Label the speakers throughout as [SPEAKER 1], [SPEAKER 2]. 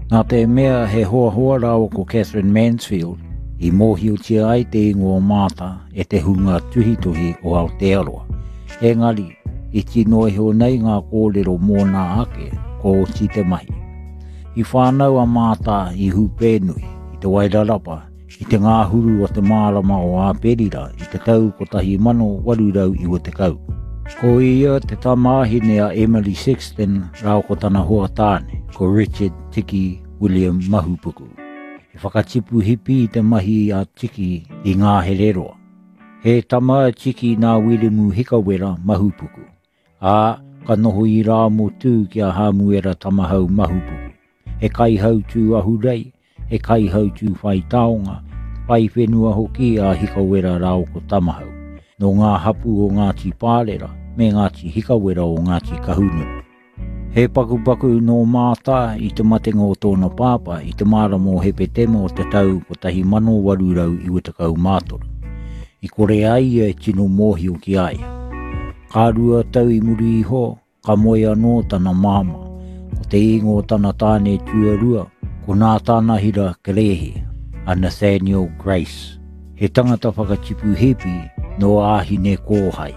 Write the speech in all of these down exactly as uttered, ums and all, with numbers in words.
[SPEAKER 1] Nā te mea he hoahoa rāua ko Catherine Mansfield i mōhiotia ai te ingoa o Māta e te hunga tuhituhi o Aotearoa. Engari, iti noa iho nei ngā kōrero mōna ake, ko oti te mahi. I whānau a Māta i Hūpēnui, i Te Wairarapa, i te ngāhuru o te marama o Āperira i te tau kotahi mano waru rau iwa tekau. Ko ia te tamāhine a Emily Sexton rāua ko tana hoa tāne, ko Richard Tiki William Mahupuku. He whakatipu hipi te mahi a Tiki i ngā hereroa. He tama a Tiki nā Wiremu Hikawera Mahupuku, ā, ka noho i Rāmotū ki a Hāmuera Tamahau Mahupuku. He kaihautū ahurei, he kaihautū whai taonga, whai whenua hoki a Hikawera rāua ko Tamahau, nō ngā hapū o Ngāti Pārera me Ngāti Hikawera o Ngāti Kahungunu. He pakupaku nō Māta i te matenga o tōna pāpā i te marama o Hepetema o te tau kotahi mano waru rau iwa tekau mā toru. I kore ai ia e tino mōhio ki a ia. Ka rua tau i muri iho, ka moe anō tana māmā. Ko te ingoa o tana tāne tuarua, ko Nātānahira Kerehe, a Nathaniel Grace. He tangata whakatipu hipi nō Āhine Kōhai.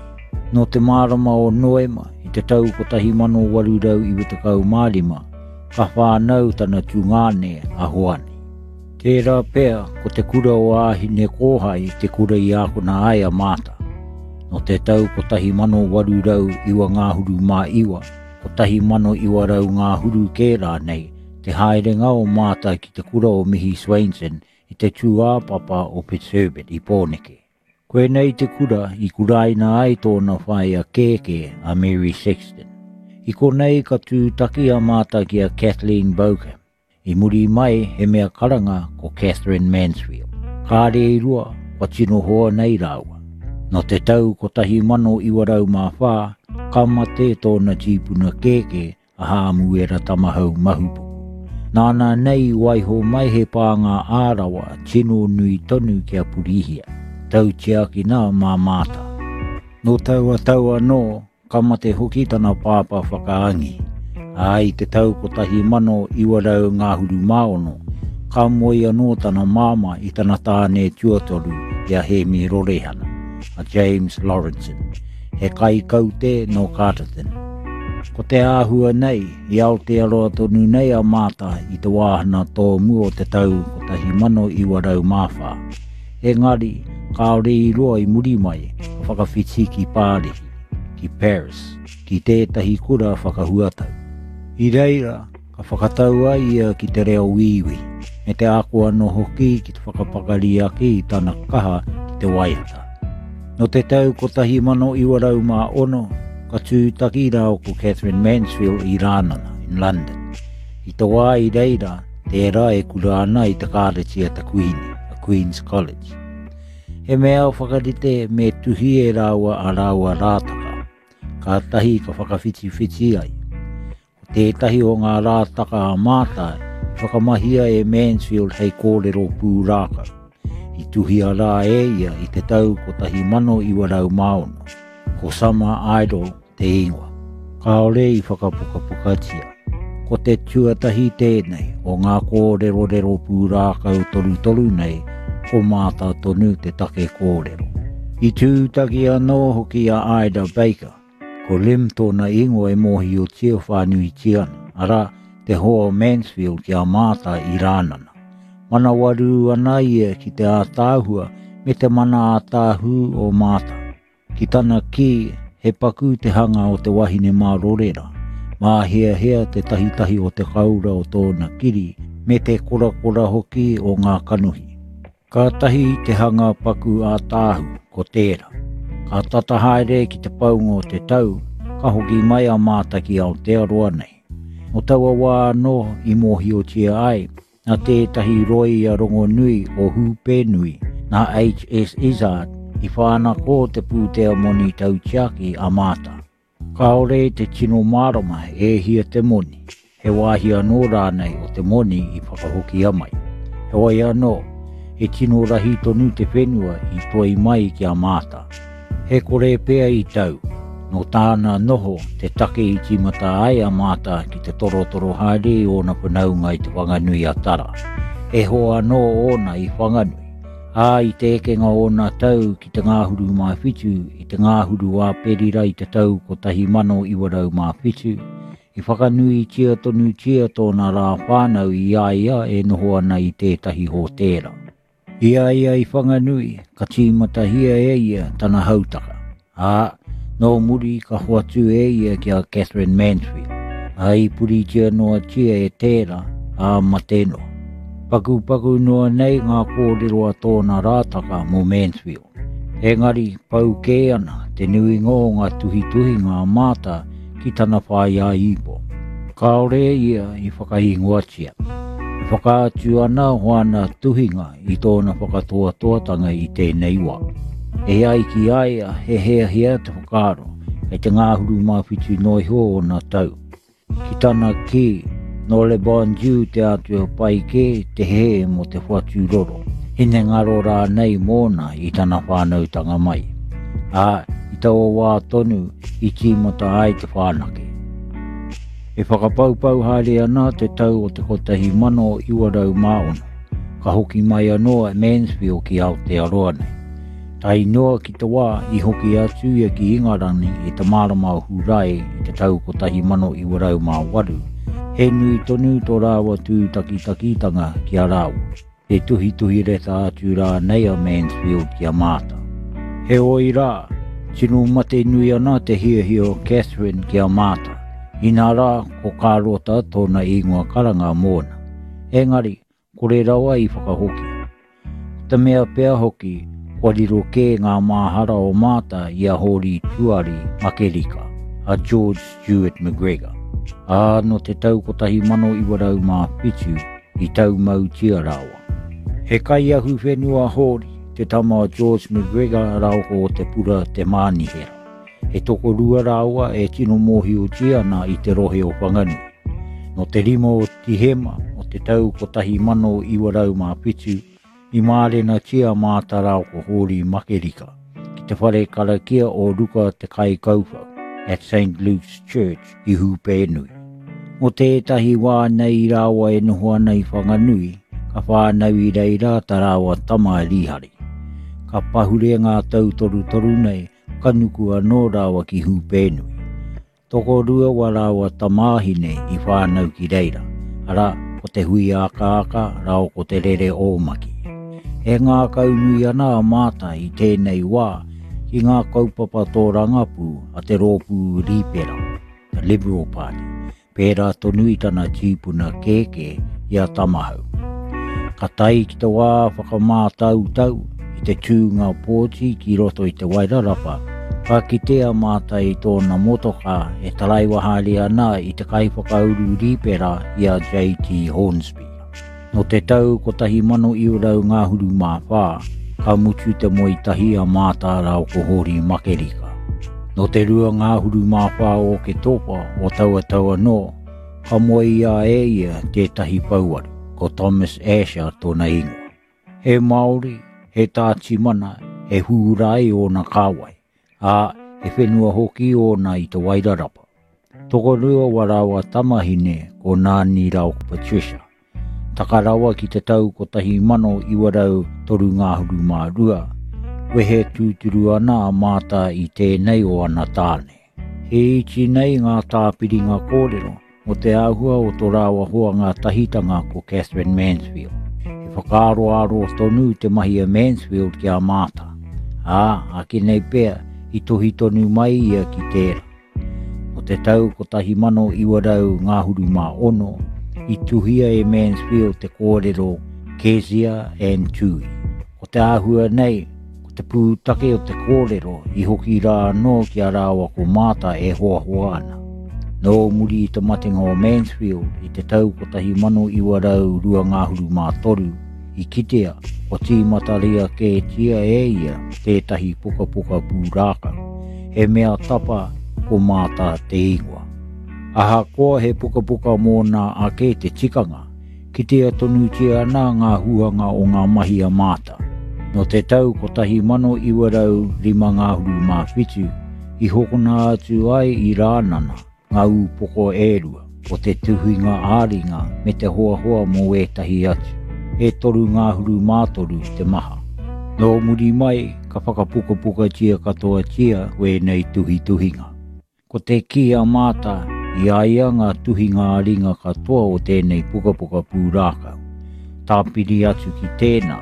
[SPEAKER 1] Nō te marama o Noema i te tau kotahi mano waru rau iwa tekau mā rima, ka whānau tana tungāne a Hoani. Tērā pea ko te kura o Āhine Kōhai te kura i ākona ai a Māta. Nō te tau kotahi mano waru rau iwa ngāhuru mā iwa, kotahi mano iwa rau ngāhuru kē rānei, te haerenga o Māta ki te kura o Mihi Swainson i te tūāpapa o Fitzherbert i Pōneke. Koinei te kura i kuraina ai tōna whaea kēkē a Mary Sexton. I konei ka tūtaki a Māta ki a Kathleen Bauckham. I muri mai he mea karanga ko Catherine Mansfield. Kāre i rua, kua tino hoa nei rāua. Nō te tau kotahi mano iwa rau mā whā, ka mate tōna tīpuna kēkē a Hāmuera Tamahau Mahupuku. Nāna nei waiho mai he pānga ārawa tino nui tonu kia purihia, tautiakina mā Māta. Nō taua tau anō, ka mate hoki tana pāpā whakaangi. Ā, i te tau kotahi mano iwa rau ngāhuru mā ono, ka moe anō tana māmā i tana tāne tuatoru i a Hēmi Rorehana, a James Lawrenson, he kaikaute nō Carterton. Ko te āhua nei, i Aotearoa tonu nei a Māta i te wāhana tōmua o te tau kotahi mano iwa rau mā whā. Engari, kāore i roa i muri mai, ka whakawhiti ki Pārihi, ki Paris, ki tētahi kura whakahuatau. I reira, ka whakatau ai ia ki te reo wīwī, me te ako anō hoki ki te whakapakari ake i tana kaha ki te waiata. Nō te tau kotahi mano iwa rau mā ono, ka tūtaki rāua ko Catherine Mansfield i Rānana, in London. I te wā i reira, tērā e kura ana i te kāreti a te Kuini, a Queen's College. He mea whakarite me tuhi e rāua a rāua rātaka, kātahi ka whakawhitiwhiti ai. Ko tētahi o ngā rātaka a Māta i whakamahia e Mansfield hei kōrero pūrākau. I tuhia rā e ia i te tau kotahi mano iwa rau mā ono. Ko Summer Idol te ingoa. Kāore i whakapukapukatia. Ko te tuatahi tēnei o ngā kōrerorero pūrākau torutoru nei, ko Māta tonu te take kōrero. I tūtaki anō hoki a Ida Baker, ko Lim tōna ingoa e mōhiotia whānuitia ana, arā, te hoa o Mansfield ki a Māta i Rānana. Manawarū ana ia ki te ātaahua me te mana ātaahū o Māta. Ki tana kī, he paku te hanga o te wahine mārorera, māheahea te tahitahi o te kaura o tōna kiri, me te korakora hoki o ngā kanohi. Kātahi te hanga paku ātaahu, ko tērā. Ka tata haere ki te paunga o te tau, ka hoki mai a Māta ki Aotearoa nei. Nō taua wā anō i mōhiotia ai, nā tētahi rōia rongonui o Hūpēnui, nā H S Izard, i whānako te pūtea moni tautiaki a Māta. Kāore te tino mārama e hia te moni, he wāhi anō rānei o te moni i whakahokia mai. Heoi anō, he tino rahi tonu te whenua i toi mai ki a Māta. He kore pea i tau, Nō tāna noho te take i tīmata ai a Māta ki te torotoro haere i ōna whanaunga i Te Whanganui a Tara. E hoa anō ōna i Whanganui. Ā, i te ekenga ōna tau ki te ngāhuru mā whitu, i te ngāhuru a Perira i te tau kotahi mano iwa rau mā whitu, i whakanuitia tonutia tōna rā whānau i a ia e noho ana i tētahi hōtēra. I a ia i Whanganui, ka tīmatahia e ia tana hautaka. Ā, nō muri ka hoatu e ia ki a Catherine Mansfield, ā, i puritia noatia e tērā, ā, mate noa. Pakupaku noa nei ngā kōrero a tōna rātaka mō Mansfield. Engari, pau kē ana te nuinga o ngā tuhituhinga a Māta ki tana whaea ipo. Kāore ia i whakaingoatia. E whakaatu ana hoana tuhinga i tōna whakatoatoatanga i tēnei wā. E ai ki a ia, he heahea te whakaaro, kei te ngāhuru mā whitu noa iho ōna tau. Ki tana kī, nō Le Bon Dieu te atua pai kē te hē mō te whatu roro, hinengaro rānei mōna i tana whānautanga mai. Ā, i taua wā tonu i tīmata ai te whānake. E whakapaupau haere ana te tau o te kotahi mano iwa rau mā ono, ka hoki mai anō a Mansfield ki Aotearoa nei. Tae noa ki te wā i hoki atu ia ki Ingarangi i te marama o Hurae i te tau kotahi mano iwa rau mā waru, he nui tonu tō rāua tūtakitakitanga ki a rāua. He tuhituhi reta atu rānei a Mansfield ki a Māta. Heoi rā, tino mate nui ana te hiahia o Catherine ki a Māta. Inā rā, ko Kārota tōna ingoa karanga mōna. Engari, kore rawa i whakahokia. Ko te mea pea hoki, kua riro kē ngā māhara o Māta i a Hōri Tuari Makerika, a George Stewart McGregor. Ā, nō te tau kotahi mano iwa rau mā whitu i taumautia rāua. He kaiahu whenua Hōri, te tama o George McGregor rāua ko Te Pura Te Mānihera. He tokorua rāua e tino mōhiotia ana i te rohe o Whanganui. Nō te rima o Tihema o te tau kotahi mano iwa rau mā whitu, i mārenatia Māta rāua ko Hōri Makerika ki te whare karakia o Ruka Te Kaikauwhau at Saint Luke's Church i Hūpēnui. Mō tētahi wā nei i rāua e noho ana i Whanganui, ka whānau i reira tā rāua tama a Rihari. Ka pahure ngā tau torutoru nei, ka nuku anō rāua ki Hūpēnui. Tokorua wa rāua tamāhine i whānau ki reira, arā, ko te hui akaaka rāua ko te rere ōmaki. E ngākau nui ana a Māta i tēnei wā ki ngā kaupapa tōrangapū a te rōpū Rīpera, the Liberal Party, pērā tonu i tana tīpuna kēkē i a Tamahau. Ka tae ki te wā whakamātautau i te tūnga pōti ki roto i te Wairarapa, ka kite a Māta i tōna motokā e taraiwa haere ana i te kaiwhakauru Rīpera i a J T Hornsby. Nō te tau kotahi mano iwa rau ngāhuru mā whā, ka mutu te moe tahi a Māta rāua ko Hōri Makerika. Nō te rua ngāhuru mā whā o Oketopa o taua tau anō, ka moe ia e ia tētahi pouaru, ko Thomas Asher tōna ingoa. He Māori, he tātimana, he hūrae ōna kāwai, ā, he whenua hoki ōna i te Wairarapa. Tokorua wa rāua tamahine ko Nāni rāua ko Patricia. Taka rawa ki te tau kotahi mano iwa rau toru ngāhuru mā rua, wehe tūturu ana a Māta i tēnei o ana tāne. He iti nei ngā tāpiringa kōrero mō te āhua o tō rāua hoa ngā tahitanga ko Catherine Mansfield. He whakaaroaro tonu te mahi a Mansfield ki a Māta. Ā, ake nei pea, i tohi tonu mai ia ki tērā. Nō te tau kotahi mano iwa rau ngāhuru mā ono, i tuhia e Mansfield te kōrero Kezia and Tui. Ko te āhua nei, ko te pūtake o te kōrero i hoki rā anō ki a rāua ko Māta e hoahoa ana. Nō muri i te matenga o Mansfield i te tau kotahi mano iwa rau rua ngāhuru mā toru, i kitea kua tīmataria kētia e ia tētahi pukapuka pūrākau. He mea tapa ko Māta te ingoa. Ahakoa he pukapuka mōna ake te tikanga, kitea tonutia ana ngā huanga o ngā mahi a Māta. Nō te tau kotahi mano iwa rau rima ngāhuru mā whitu, I hokona atu ai i Rānana ngā ūpoko e rua, o te tuhinga ā-ringa me te hoahoa mō ētahi atu, e toru ngāhuru mātoru te maha. Nō muri mai, ka whakapukapukatia katoatia wēnei tuhituhinga. Ko te kī a Māta, i a ia ngā tuhinga ā-ringa katoa o tēnei pukapuka pūrākau. Tāpiri atu ki tēnā,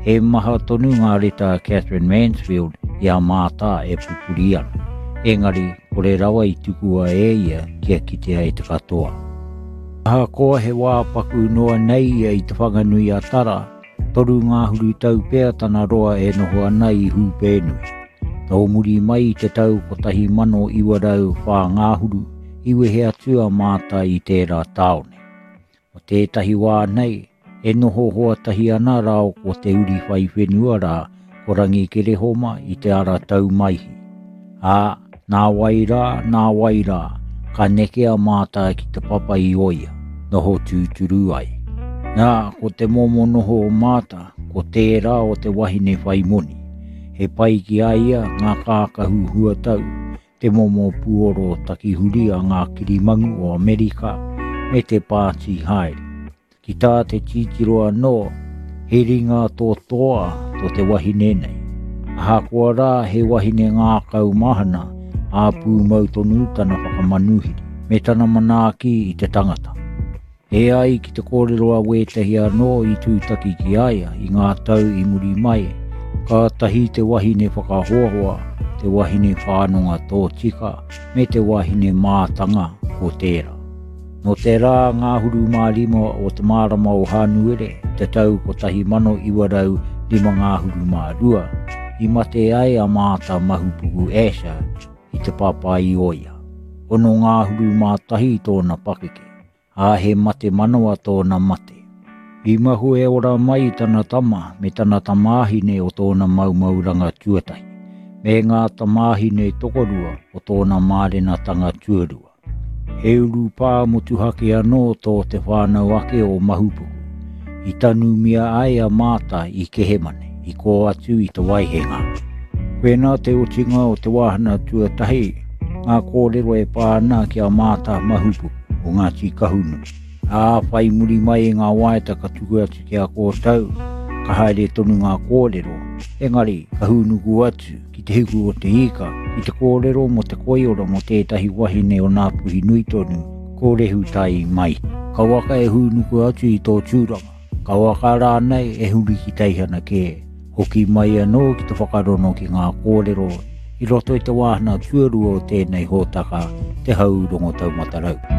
[SPEAKER 1] he maha tonu ngā reta a Katherine Mansfield i a Māta e pupuri ana. Engari, kore rawa i tukua e ia kia kitea e te katoa. Ahakoa he wā paku noa nei ia i Te Whanganui a Tara, toru ngāhuru tau pea tana roa e noho ana i Hūpēnui. Nō muri mai i te tau kotahi mano iwa rau whā ngāhuru, i wehe atu a Māta i tērā tāone. O tētahi wā nei, e noho hoatahi ana rāo ko te uri whai whenua rā, ko Rangi Kerehoma i te ara taumaihi. Ā, nā wai rā, nā wai rā, ka neke a Māta ki te papa i Oia, noho tūturu ai. Nā, ko te momo noho o Māta, ko tērā o te wahine whai moni. He pai ki a ia ngā kākahu huatau, te momo puoro takihuri a ngā kirimangu o Amerika, me te pāti haere. Ki tā te titiro anō, he ringa tō toa tō te wahine nei. Ahakoa rā he wahine ngākau mahana, ā pūmau tonu tana whakamanuhiri, me tana manaaki i te tangata. E ai ki te kōrero a wētahi anō i tūtaki ki a ia i ngā tau i muri mai, kātahi te wahine whakahoahoa, te wahine whānonga tōtika, me te wahine mātanga ko tērā. Nō te rā ngāhuru mā rima o te marama o Hānuere, te tau kotahi mano iwa rau rima ngāhuru mā rua, i mate ai a Māta Mahupuku Asher i te papa i Oia. Ono ngāhuru mā tahi tōna pakeke, ā he mate manawa tōna mate. I mahu e ora mai tana tama me tana tamāhine o tōna maumauranga tuatahi, me ngā tamāhine tokorua o tōna mārenatanga tuarua. He urupā motuhake anō tō te whānau ake o Mahupuku. I tanumia ai a Māta i Kehemane, i kō atu i te Waihenga. Koinā te otinga o te wāhana tuatahi, ngā kōrero e pā ana ki a Māta Mahupuku o Ngāti Kahungunu. Ā, whai muri mai i ngā waeta ka tuku atu ki a kōtau, ka haere tonu ngā kōrero, engari ka hūnuku atu ki te hiku o te ika, ki te kōrero mō te koiora mō tētahi wahine o Ngāpuhi nui tonu, ko Rehutai mai. Kauaka e hūnuku atu i tō tūranga, kauaka rānei e huri ki teihana kē, hoki mai anō ki te whakarono ki ngā kōrero i roto i te wāhana tuarua o tēnei hōtaka, Te Hau Rongo Taumatarau.